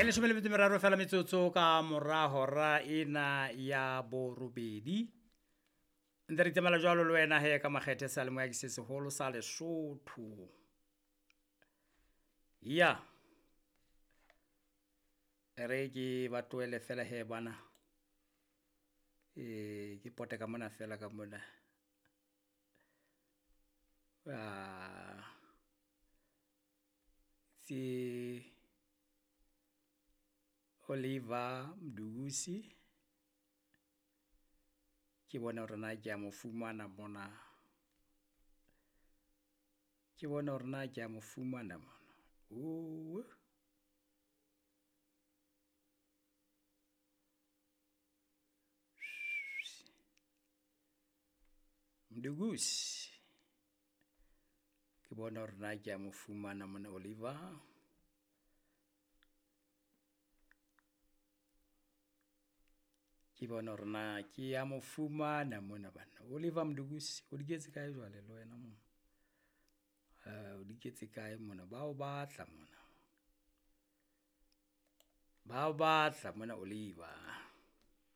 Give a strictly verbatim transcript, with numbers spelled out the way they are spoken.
E leshome le metso e meraro fela metsotso ka mora hora ena ya borobedi. Ntse re itsamaela jwalo le wena he ka makgethe seyalemoya ke se seholo sa Lesotho. Ya. E re ke ba tlohele fela he bana. E ke pote ka mona fela ka mona. Ah. Tse Oliver Mdusi. Ke bone hore na ke a mo fumana mona. Ke bone hore na ke a mo fumana mona. Oh. Mdukusi. Ke bone hore na ke a mo fumana mona Oliver. Ke bone hore na ke a mo fumana mona banna. Oliver Mdukusi, o diketse kae jwale le wena mona? Uh, o diketse kae mona? Ba o batla mona. Ba o batla mona Oliver.